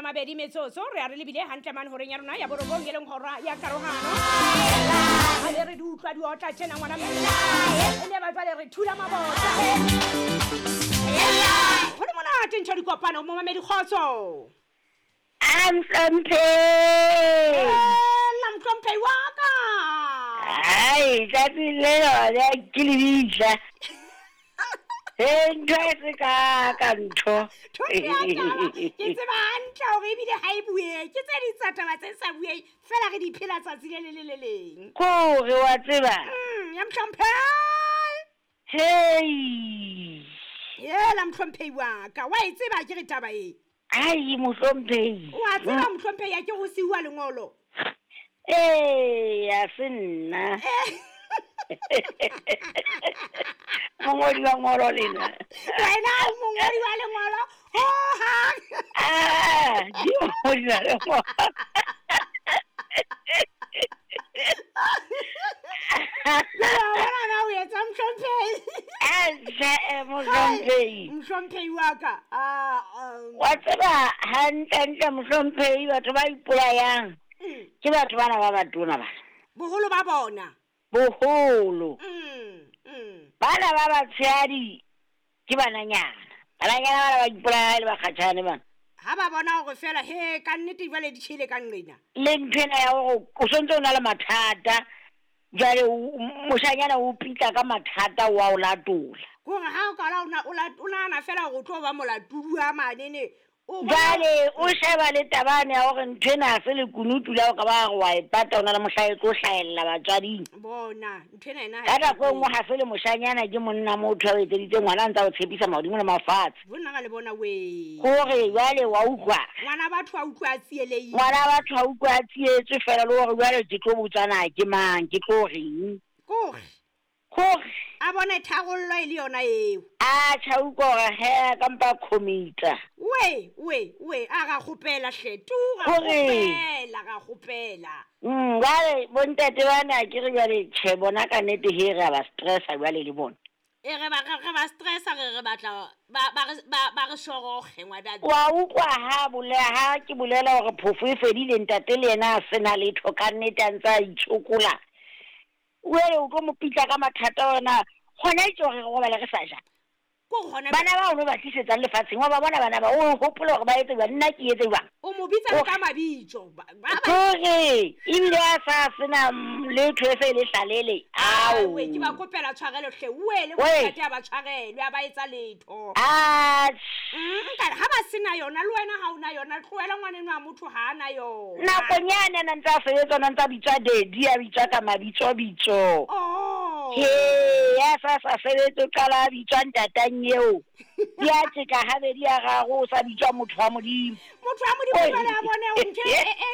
20 metsotso re a re lebile hantle mane horeng ya rona ya borobong e leng hora ya karohano. Ha le re di utlwa di otla tjena ngwana mme. E ne ba jwale re thula mabota. Ho le monate ntho dikopano momamedi kgotso. Amhlomphehi. La mhlomphehi wa ka. Ai, tsatsi le lona ke lebitla. He ntho e se ka ka ntho. Thoto ya taba ke tseba hantle hore ebile ha e buehe ke tse ding tsa taba tse sa bueng fela re di phela tsatsi le le le le leng. Kore wa tseba. Ya mhlomphehi. Hei. Ela mhlomphehi wa ka wa e tseba ke re taba e. Ai mohlomphehi. Wa tseba mohlomphehi ya ke go siuwa lengolo. Ee, a se nna. Mongodi wa ngolo lena. Wena o mongodi wa lengolo hohang. Ah, ke mongodi wa lengolo. Jwale wa bona na o etsa mohlomphehi. Aje mohlomphehi. Mohlomphehi wa ka. Wa tseba hantlentle mohlomphehi batho ba ipolayang ke batho bana ba batona bana. Boholo ba bona. Boholo. Bana ba batshehadi ke bananyana. Bananyana bana ba ipolaya le bakgatjhane bana. Ha ba bona hore fela he ka nnete jwale di tjhele ka nqena. Le nthwena ya hore o sontse o na le mathata. Jwale moshanyana o pitla ka mathata wa o latola. Kore ha o kala o nahana fela hore o tlo ba molatodi wa manene. Jwale o sheba le tabane ya hore nthwena ha se lekunutu la o ka ba re wa e pata o na le mohla e tlo hlahella batswading. Bona nthwena ena ka nako e nngwe ha se le moshanyana ke monna motho a o etseditse ngwana a ntse a o tshepisa mahodimo le mafatshe. Bonna ka le bona we. Kore jwale wa utlwa. Ngwana batho a utlwa a tsielehile. Ngwana batho a utlwa a tsietswe fela le hore jwale ke tlo botsana ke mang ke tlo reng. Kore. Kore. A bone tharollo e le yona eo. A tjha utlwa hore he ka mpa commita. We we we a ra kgopela hle tu ra kgopela ra kgopela. Jwale bontate bana ke re jwale tjhe bona ka nnete he re ba stressa jwale le bona. E re ba re ba stressa re re batla ba re shoroge ngwana. Wa utlwa ha bolela ha ke bolela hore phofo e fedile ntate le yena a sena letho ka nnete a ntse a itshokola. Wele o tlo mo pitla ka mathata ona hona itse hore re robale re sa ja. Bana ba o no ba tlisetsang lefatsheng wa ba bona bana ba o hopola hore ba etse jwang nna ke etse jwang. O mo bitsa ka mabitso. Kore ebile a sa sena letho e se le hlalele. Ao. We ke ba kopela tshwarelo hle wele bontate a ba tshwarelwe a ba etsa letho. Ah. Nka ha ba sena yona le wena ha ona yona tlohela ngwaneno wa motho ha ana yona. Nakonyana na ntsa sebetsa na ntsa bitswa daddy a bitswa ka mabitso bitso. Oh. He ya sa sa sebetsa qala bitswa ntatang eo. Ya tjeka habedi ya gagwe o sa bitswa motho wa Modimo. Motho wa Modimo jwale a bone o ntho e